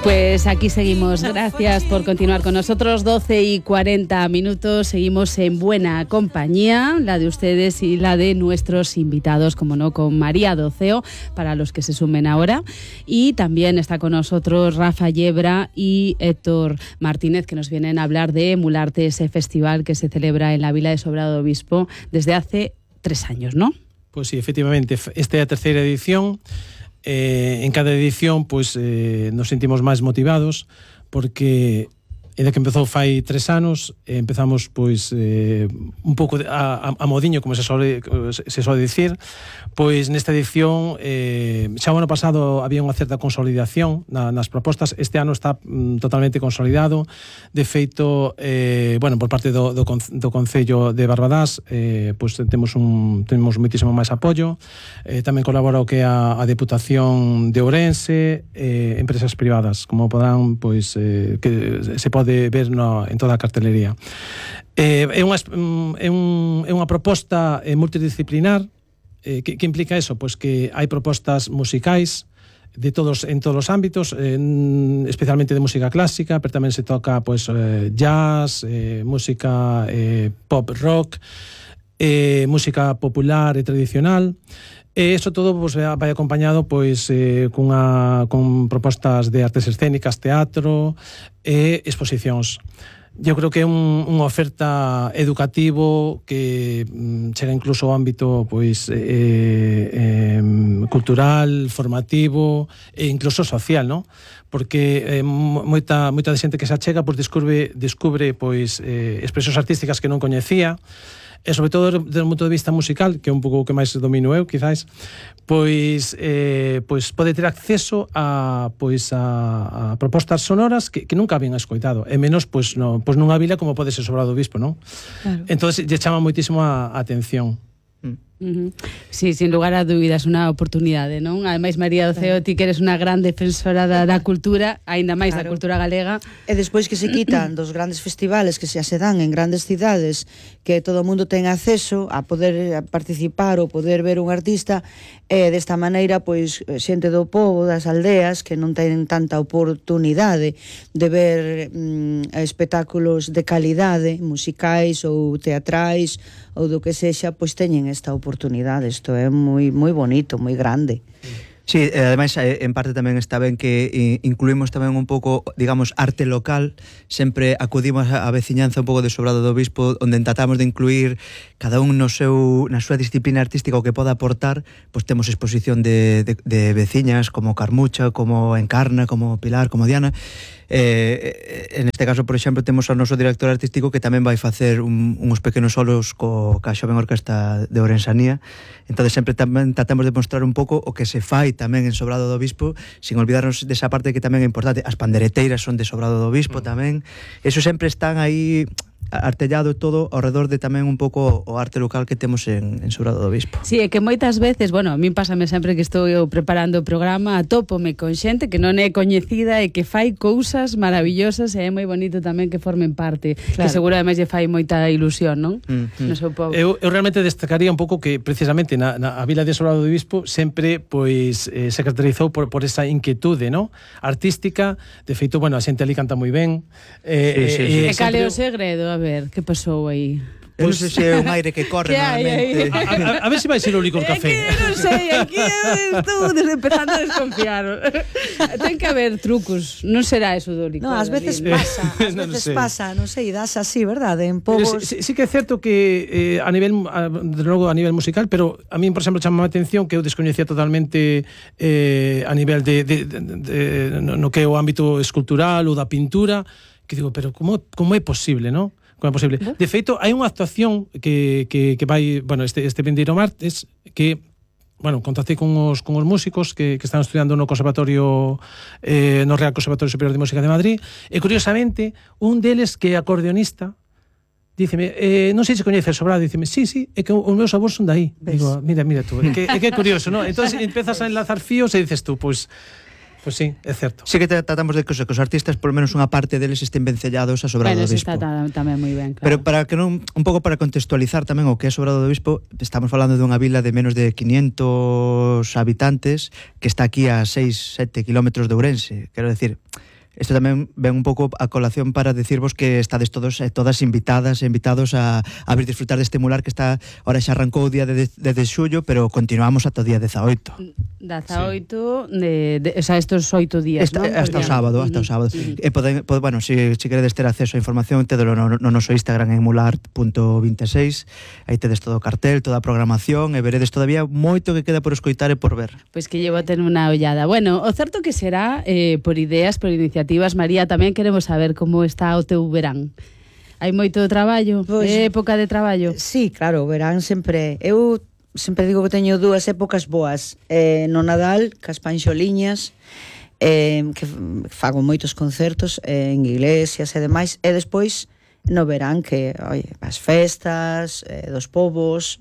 Pues aquí seguimos. Gracias por continuar con nosotros. 12:40. Seguimos en buena compañía, la de ustedes y la de nuestros invitados, como no, con María Doceo, para los que se sumen ahora. Y también está con nosotros Rafa Yebra y Héctor Martínez, que nos vienen a hablar de Emularte, ese festival que se celebra en la Vila de Sobrado do Obispo desde hace 3 años, ¿no? Pues sí, efectivamente, esta é a terceira edición. En cada edición pues, nos sentimos máis motivados porque desde que empezou fai 3 anos empezamos pois un pouco a modiño, como se soe dicir. Pois nesta edición xa o ano pasado había unha certa consolidación nas propostas. Este ano está totalmente consolidado. De feito, bueno, por parte do Concello de Barbadás pois temos moitísimo máis apoio. Tamén colabora o que é a Deputación de Ourense, empresas privadas, como podrán, pois que se pode ver en toda a cartelería. É unha proposta multidisciplinar. Que implica eso? Pois que hai propostas musicais en todos os ámbitos, especialmente de música clásica, pero tamén se toca pois jazz, música pop rock, música popular e tradicional. E iso todo pues, vai acompañado pois con propostas de artes escénicas, teatro e exposicións. Eu creo que é unha oferta educativo que chega incluso ao ámbito pois cultural, formativo e incluso social, ¿no? Porque moita xente que se achega pois descubre pois expresións artísticas que non coñecía. E sobre todo desde o punto de vista musical, que é un pouco o que máis domino eu, quizás, pois pode ter acceso a propostas sonoras que nunca habían escoitado, e menos pois nunha vila como pode ser Sobrado do Obispo, non? Claro. Entonces lle chama moitísimo a atención. Sí, sin lugar a dúbidas, unha oportunidade, non? Ademais, María Doceo, ti que eres unha gran defensora da cultura, aínda máis da cultura galega. E despois que se quitan dos grandes festivales que se dan en grandes cidades, que todo o mundo ten acceso a poder participar ou poder ver un artista, e desta maneira, pois, xente do pobo, das aldeas, que non ten tanta oportunidade de ver espectáculos de calidade, musicais ou teatrais, ou do que sexa, pois teñen esta oportunidade. Isto é moi bonito, moi grande. Sí, ademais, en parte tamén está ben que incluímos tamén un pouco, digamos, arte local. Sempre acudimos a veciñanza un pouco de Sobrado do Obispo, onde tratamos de incluir cada un na súa disciplina artística o que poda aportar. Pois temos exposición de veciñas como Carmucha, como Encarna, como Pilar, como Diana. En este caso, por exemplo, temos ao noso director artístico que tamén vai facer uns pequenos solos ca Xoven Orquesta de Ourensanía. Entón sempre tamén tratamos de mostrar un pouco o que se fai tamén en Sobrado do Obispo, sin olvidarnos desa parte que tamén é importante. As pandereteiras son de Sobrado do Obispo tamén. Eso sempre están aí artellado todo ao redor de tamén un pouco o arte local que temos en Sobrado do Obispo. Sí, é que moitas veces, bueno, a min pásame sempre que estou eu preparando o programa, atópome con xente que non é coñecida e que fai cousas maravillosas, e é moi bonito tamén que formen parte, claro. Que seguro ademais lle fai moita ilusión, non? No seu povo. Eu realmente destacaría un pouco que precisamente na Vila de Sobrado do Obispo sempre pois se caracterizou por esa inquietude, non? Artística. De feito, bueno, a xente ali canta moi ben. E cal é o segredo? A ver, que pasou aí? Eu non sei se é un aire que corre normalmente. A ver se vai ser o licor café. É que non sei, aquí estou empezando a desconfiar. Ten que haber trucos, non será eso do licor. Non, ás veces pasa, non sei, das así, verdade? En povos... Sí que é certo que a nivel musical, pero a mí, por exemplo, chamaba a atención que eu descoñecía totalmente a nivel no que é o ámbito escultural ou da pintura, que digo, pero como é posible, non? Como é posible? De feito, hai unha actuación que vai, bueno, este vindeiro martes, que, bueno, contactei con os músicos que están estudiando no Conservatorio, no Real Conservatorio Superior de Música de Madrid, e curiosamente, un deles que é acordeonista, díceme, non sei se coñece Sobrado, díceme, sí, é que os meus avós son dai. Digo, mira tú, é que é curioso, non? Entón, empezas a enlazar fíos e dices tú, pois, Pois sí, é certo. Sí que tratamos de que os artistas, por lo menos unha parte deles, estén vencellados a Sobrado do Bispo. Bueno, está tamén moi ben, claro. Pero para que non, un pouco para contextualizar tamén o que é Sobrado do Bispo, estamos falando dunha vila de menos de 500 habitantes que está aquí a 6-7 kilómetros de Ourense. Quero decir, isto tamén ven un pouco a colación para decirvos que estades todos e todas invitadas e invitados a vir disfrutar deste mular que está, ahora xa arrancou o día de xullo, pero continuamos ata o día 18. 18, o sea, estos 8 días, ¿no? Hasta o sábado. Bueno, si queredes ter acceso a información, tedelo no noso Instagram en mular.26, aí tedes todo o cartel, toda a programación, e veredes todavía moito que queda por escoitar e por ver. Pois que llevo a ter unha ollada. Bueno, o certo que será por ideas, por iniciativas. María, tamén queremos saber como está o teu verán. Hai moito traballo? Pois, época de traballo? Sí, claro, o verán sempre... Eu sempre digo que teño dúas épocas boas. No Nadal, cas panxoliñas, que fago moitos concertos en iglesias e demais, e despois no verán que, as festas dos povos,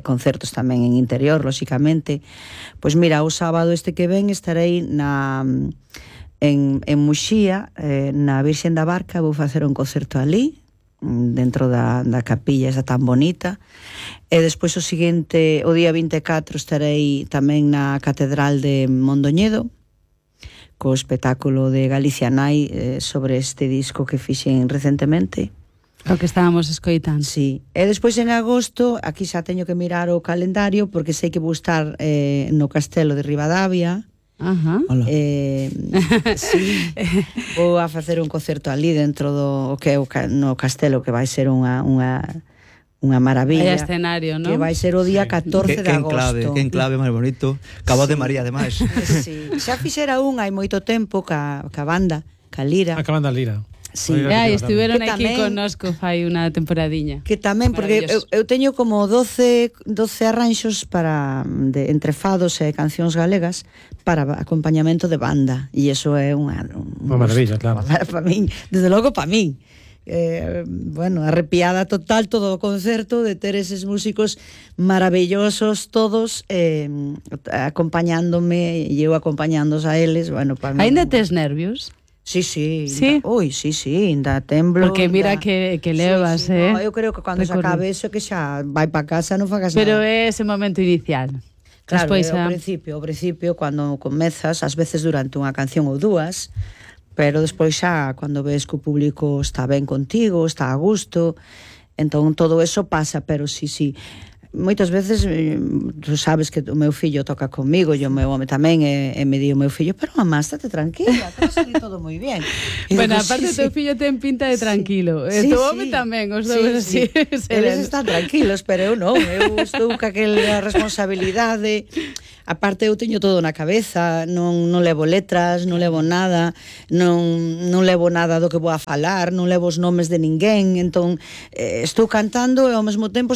concertos tamén en interior, lóxicamente. Pois mira, o sábado este que ven estarei en Muxía, na Virxen da Barca. Vou facer un concerto ali, dentro da capilla esa tan bonita, e despois o seguinte, o día 24, estarei tamén na Catedral de Mondoñedo co espectáculo de Galicia Nai sobre este disco que fixen recentemente, o que estábamos escoitando. Sí. E despois en agosto, aquí xa teño que mirar o calendario, porque sei que vou estar no Castelo de Ribadavia. Ajá. Sí, vou a facer un concerto ali dentro do que é no castelo, que vai ser unha maravilla. Hai escenario, non? Que vai ser o día 14 de agosto. Que enclave máis bonito. Cabo de María, ademais. Sí. Xa fixera hai moito tempo ca banda, ca Lira. A banda Lira. Sí. Estiveron aquí connosco fai unha temporadiña. Que tamén, porque eu teño como 12 arranxos entre fados e cancións galegas para acompañamento de banda, e iso é unha maravilla, claro. Para min, desde logo para min. Bueno, arrepiada total todo o concerto de ter eses músicos maravillosos todos acompañándome, e eu acompañándos a eles. Bueno, para min. Ainda tes nervios? Sí. Sí, ainda temblo. Porque mira que levas, sí. No, eu creo que cando se acabe eso, que xa vai para casa, non fagas nada. Pero é ese momento inicial. Claro, despois, ao principio, cando comezas, ás veces durante unha canción ou dúas, pero despois xa, cando ves que o público está ben contigo, está a gusto, entón todo eso pasa, pero sí. Moitas veces, tú sabes que o meu fillo toca comigo, e o meu home tamén, e me di o meu fillo, pero mamá, estate tranquila, que vai todo moi bien. Bueno, aparte o teu fillo ten pinta de tranquilo, e o home tamén, os dous así. Eles están tranquilos, pero eu non, eu estou ca aquela responsabilidade. Aparte eu teño todo na cabeza, non levo letras, non levo nada, non levo nada do que vou a falar, non levo os nomes de ninguén, entón estou cantando e ao mesmo tempo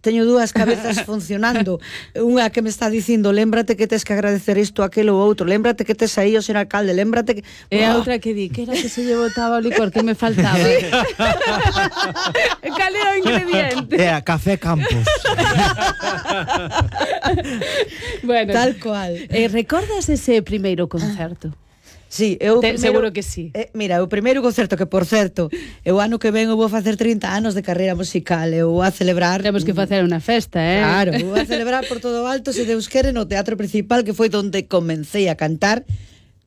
teño dúas cabezas funcionando, unha que me está dicindo, lémbrate que tes que agradecer isto, aquilo ou outro, lémbrate que tes aí o ser alcalde, lémbrate que... E a outra que di, que era que se lle botaba o licor, que me faltaba. Cal era o ingrediente? Era Café Campos. Bueno, tal cual. Recordas ese primeiro concerto? Sí, seguro que sí. Mira, o primeiro concerto, que por certo, o ano que ven eu vou facer 30 anos de carreira musical, eu vou a celebrar... Temos que facer unha festa, Claro, vou a celebrar por todo o alto, se Deus quere, no Teatro Principal, que foi onde comecei a cantar.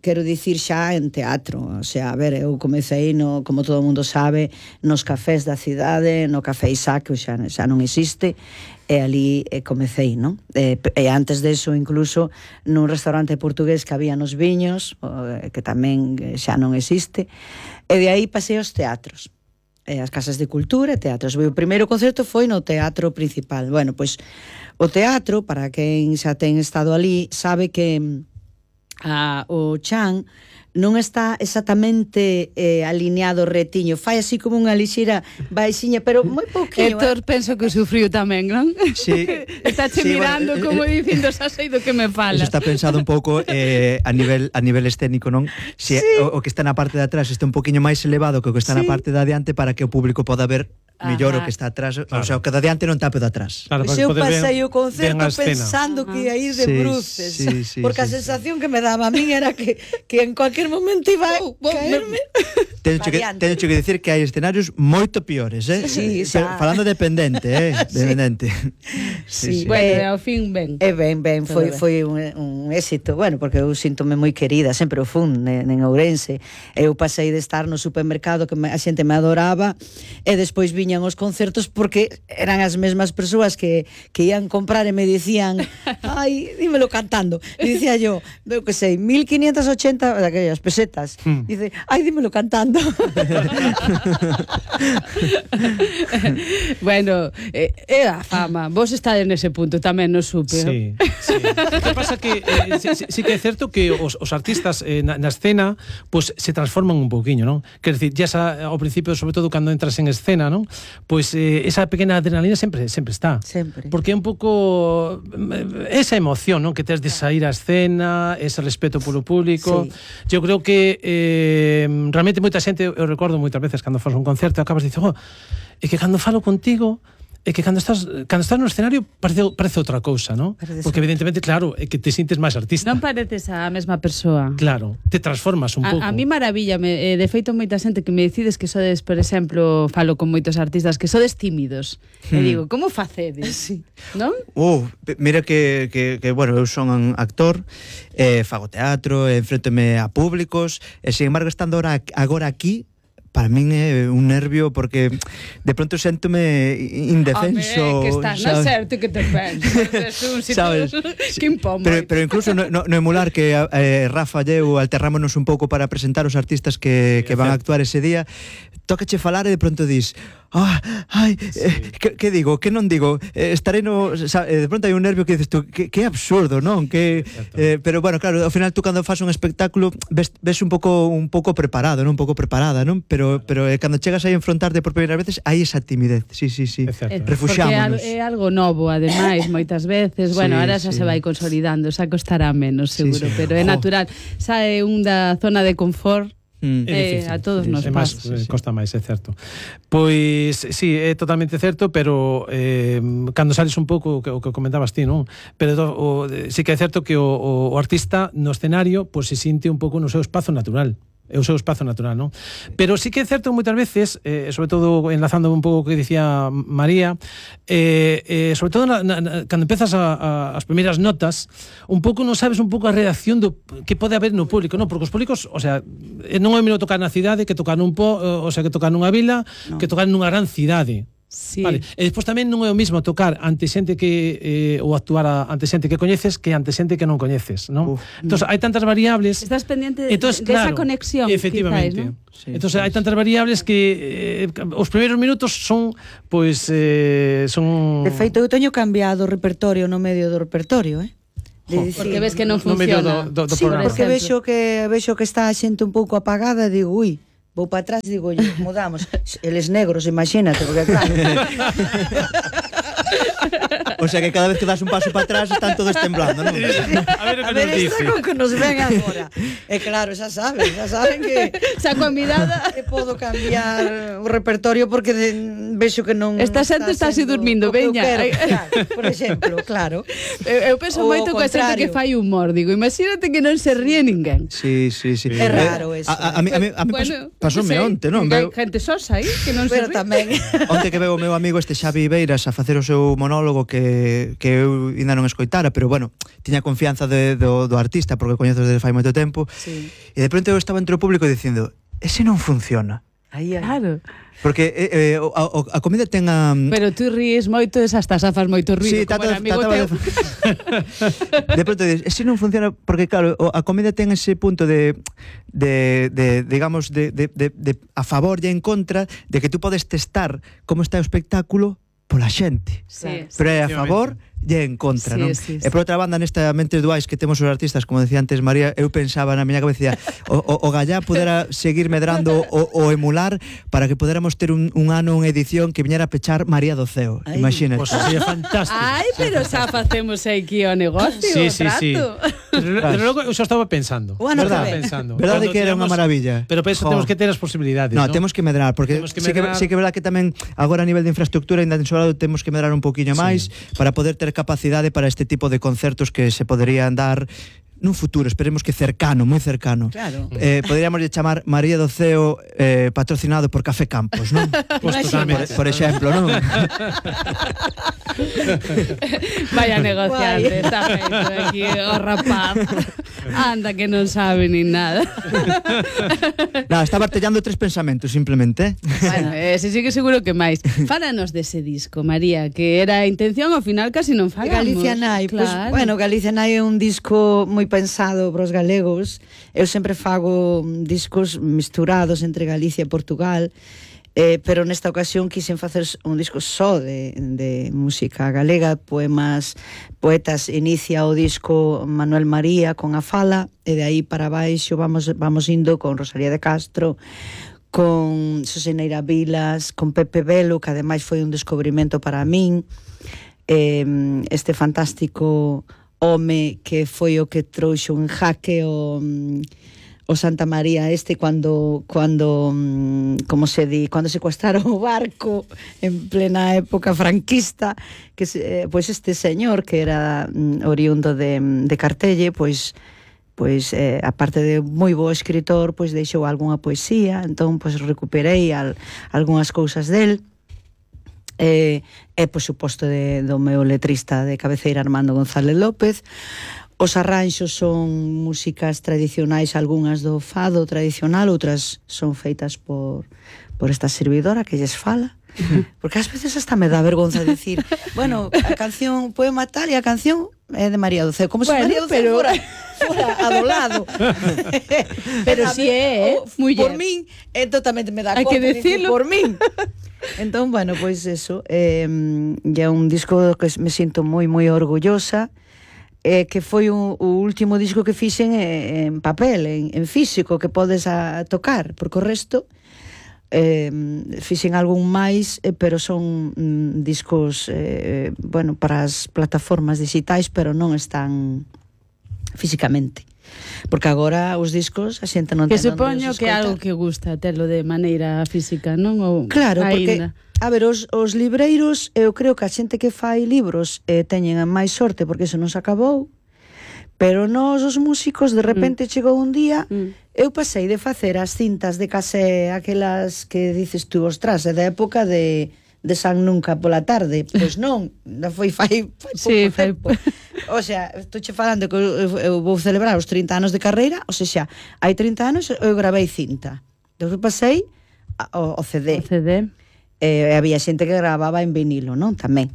Quero dicir xa en teatro, o sea, a ver, eu comecei, como todo mundo sabe, nos cafés da cidade, no Café Isaac, que xa non existe, e ali comecei, non? E antes deso, incluso, nun restaurante portugués que había nos Viños, que tamén xa non existe, e de aí pasei aos teatros, as casas de cultura e teatros. O primeiro concerto foi no Teatro Principal. Bueno, pois, o teatro, para quen xa ten estado ali, sabe que o chan non está exactamente alineado retiño, fai así como unha lixeira baixiña, pero moi pouquinho. Héctor, penso que sufriu tamén, non? Sí. Está mirando como dicindo, xa sei do que me falas. Eso está pensado un pouco a nivel escénico, non? Si o que está na parte de atrás está un poquinho máis elevado que o que está na parte de adiante, para que o público poda ver millor o que está atrás, o sea, o que de adiante non tape de atrás. Claro, Pois para eu poder pasei ver o concerto ben a escena. pensando que ia ir de Sí, bruces, sí. porque a sensación que me daba a min era que en cualquier momento iba a caerme. Teño que dicir que hai escenarios moito piores, Sí, Pero xa. falando de pendente, Dependente. Sí. Bueno, ao fin ben. Ben, Todo foi un éxito, bueno, porque eu síntome moi querida, sempre o fun en Ourense. Eu pasei de estar no supermercado que a xente me adoraba e despois viñan os concertos porque eran as mesmas persoas que ian comprar e me dicían, ai, dímelo cantando. E dicía yo, veo que sei, 1580 daquellas pesetas. Dice, ai, dímelo cantando. Bueno, é a fama. Vos estades nese punto tamén, no supe. Sí. O que pasa que sí que é certo que os artistas na escena pues se transforman un pouquiño, non? Quer decir, ya ao principio, sobre todo cando entras en escena, non? Pues esa pequena adrenalina sempre está. Sempre. Porque é un pouco esa emoción, non? Que tes de sair á escena, ese respeto polo público. Sí. Eu creo que realmente moita xente, eu recordo moitas veces cando fas un concerto, acabas de dicir, é que cando falo contigo é que cando estás no escenario parece outra cousa, non? Porque evidentemente, claro, é que te sintes máis artista. Non pareces a mesma persoa. Claro, te transformas un pouco. A mí maravillame, de feito moita xente que me decides que sodes, por exemplo, falo con moitos artistas que sodes tímidos. E digo, como facedes? Sí. Non? Mira que bueno, eu son actor, fago teatro, enfréntome a públicos, e sin embargo estando agora aquí, para min é un nervio porque de pronto séntome indefenso. Que estás na certo que te pensas. Sabes? Que impomo. Pero incluso no emular que Rafa e eu alterrámonos un pouco para presentar os artistas que van a actuar ese día, tócache falar e de pronto dis que digo, que non digo, estarei no, de pronto hai un nervio que dices tú, que absurdo, non? Pero bueno, claro, ao final tú cando fas un espectáculo ves un pouco preparado, non? Un pouco preparada, non? Pero cando chegas aí a enfrontarte por primeira veces, hai esa timidez. Sí. Refuxiámonos. Porque é algo novo, ademais, moitas veces. Bueno, ahora xa se vai consolidando, xa costará menos, seguro, pero é natural. Xa é un da zona de confort. A todos nos pasa. Costa máis, é certo. Pois, sí, é totalmente certo, pero cando sales un pouco o que comentabas ti, non? Pero sí que é certo que o artista no escenario pues, se sinte un pouco no seu espazo natural. É o seu espazo natural, non? Pero sí que é certo que moitas veces, sobre todo enlazando un pouco o que dicía María, sobre todo cando empezas as primeiras notas, un pouco non sabes un pouco a reacción que pode haber no público, non? Porque os públicos, o sea, non é o mesmo tocar na cidade que tocar que tocar nunha vila, que tocar nunha gran cidade. Sí. Vale. E despois tamén non é o mismo tocar ante xente que ou actuar ante xente que coñeces que ante xente que non coñeces, non? Entonces hai tantas variables. Estás pendiente de esa conexión, efectivamente. Quizás, ¿no? Sí, entonces hai tantas variables que os primeiros minutos son pois son. De feito eu teño cambiado o repertorio no medio do repertorio, Porque ves que non funciona. Do sí, programa. porque vexo que está a xente un pouco apagada e digo, vou para atrás, digo, mudamos. Eles negros, imagínate, porque claro. O sea que cada vez que das un paso para atrás están todos temblando, non? A ver esta con que nos ven agora. E claro, xa saben que saco a mirada que podo cambiar o repertorio porque vexo que non esta xente está así dormindo, veña. Por exemplo, claro. Eu penso moito coa xente que fai humor, digo, imagínate que non se ríe ninguén. Sí. É raro eso. A mí pasoume onte, non? Hai xente sosa aí que non se ríe. Tamén. Onte que veo o meu amigo este Xavi Beiras a facer o seu monólogo que eu ainda non escoitara, pero bueno, tiña confianza do artista porque coñezo desde fai moito tempo. Sí. E de pronto eu estaba entre o público dicindo, ese non funciona. Claro. Porque a comida ten a... Pero tú ríes moito e hasta fas moito ruido, como era amigo teu. De pronto dices, ese non funciona porque claro, a comida ten ese punto de digamos a favor e en contra de que tú podes testar como está o espectáculo pola xente. Sí, pero é a favor lle en contra, Sí, non? sí, E por outra banda, nesta Mentes Duais que temos os artistas, como decía antes María, eu pensaba na miña cabeza, o Gallá pudera seguir medrando o emular para que puderamos ter un ano, unha edición que viñera a pechar María do Ceo. Imagínate. Pois sería fantástico. Ai, pero xa facemos aquí o negocio, Sí, o sí, trato. sí. Pero logo eu xa estaba pensando. O ano que Estaba ven. pensando. Verdade Cando que era unha teñamos- maravilla. Pero penso temos que ter as posibilidades, No, ¿no? temos que medrar, porque Temos que sí medrar. que é verdad que tamén agora a nivel de infraestructura ainda en Sobrado temos que medrar un poquinho máis para poder ter capacidade para este tipo de concertos que se poderían dar nun futuro, esperemos que cercano, moi cercano. Claro. Poderíamos chamar María do Ceo patrocinado por Café Campos, non? Pois totalmente. Por exemplo, non? Vaya negociante, está feito aquí o rapaz. Anda que non sabe nin nada. Nada, está bartellando 3 pensamentos simplemente. Bueno, ese sí que seguro que máis. Fálanos dese disco, María, que era a intención, ao final casi non falamos. Galicia Nai, claro. pues, bueno, Galicia Nai é un disco moi pensado para os galegos. Eu sempre fago discos misturados entre Galicia e Portugal, pero nesta ocasión quixen facer un disco só de música galega, poetas. Inicia o disco Manuel María con A Fala, e de aí para baixo vamos indo con Rosalía de Castro, con Soseneira Vilas, con Pepe Velo, que ademais foi un descubrimento para min, este fantástico home que foi o que trouxo en jaque o Santa María cuando como se di, cando secuestraron o barco en plena época franquista, que pois este señor que era oriundo de Cartelle, pois aparte de moi bo escritor, pois deixou algunha poesía, entón pois recuperei algunhas cousas del. E por suposto do meu letrista de cabeceira Armando González López. Os arranxos son músicas tradicionais, algunhas do fado tradicional, outras son feitas por esta servidora que lles fala, porque ás veces hasta me dá vergonza decir, bueno, a canción poema tal e a canción é de María do Ceo, como se María do Ceo fora a do lado. Pero si é, muller. Por min, totalmente me dá Hai que decirlo. por min. Entón, bueno, pois eso, é un disco que me sinto moi orgullosa, que foi o último disco que fixen en papel, en físico, que podes tocar, porque o resto fixen algún máis, pero son discos bueno, para as plataformas digitais, pero non están físicamente. Porque agora os discos a xente non Que ten onde supoño os que é escoitar. algo que gusta telo de maneira física, non? Ou Claro, porque aínda. a ver, os libreiros, eu creo que a xente que fai libros teñen a máis sorte porque eso non se acabou, pero nós os músicos de repente chegou un día, eu pasei de facer as cintas de casé, aquelas que dices tú, ostras, é da época de San Nunca pola tarde, pois non, foi fai Sí, pouco tempo. O sea, estou che falando que eu vou celebrar os 30 anos de carreira, o sea, hai 30 anos eu gravei cinta, depois pasei ao CD. O CD. Había xente que gravaba en vinilo, non? Tamén,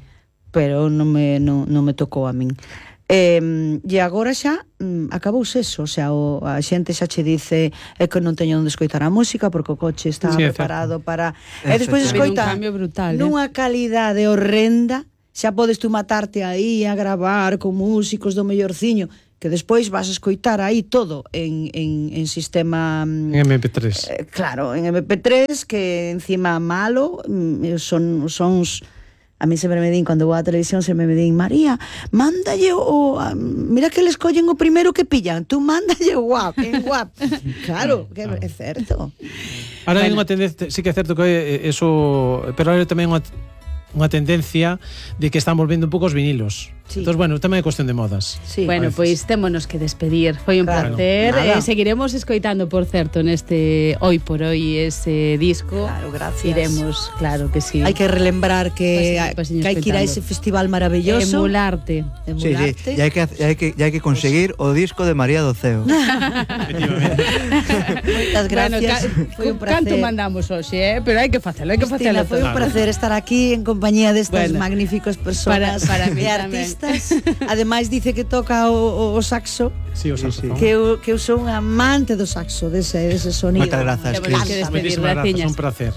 pero non me tocou a min. E agora xa acabouse eso, o sea, a xente xa che dice que non teño onde escoitar a música porque o coche está preparado para... E despois escoita un cambio brutal, nunha calidade horrenda, xa podes tú matarte aí a gravar con músicos do mellorciño, que despois vas a escoitar aí todo en sistema... En MP3. Claro, en MP3, que encima malo, son sons... A mí sempre me din, cando vou á televisión, sempre me din, María, mándalle mira que les collen o primeiro que pillan, tú mándalle o guap, en guap. Claro, que é certo. Ahora hai unha tendencia, sí que é certo que eso, pero ahora tamén unha tendencia de que están volvendo un pouco os vinilos. Sí. Entón, bueno, tamén é cuestión de modas. Sí. Bueno, pois témonos que despedir. Foi un placer. Seguiremos escoitando, por certo, neste Hoy por Hoy ese disco. Claro, gracias. Iremos, claro que sí. Hai que relembrar que hai que ir a ese festival maravilloso. Emularte. Sí, sí. E hai que conseguir o disco de María do Ceo. Moitas gracias. Foi un placer. Canto mandamos hoxe, pero hai que facelo, hai que facelo. Foi un placer estar aquí en compañía destas magníficas persoas para mí e tamén. artistas. Ademais dice que toca o saxo. Sí, o saxo. Que eu sou un amante do saxo, dese sonido. Moitas grazas. Temos que despedir, Moitísimas grazas, graciñas. un placer.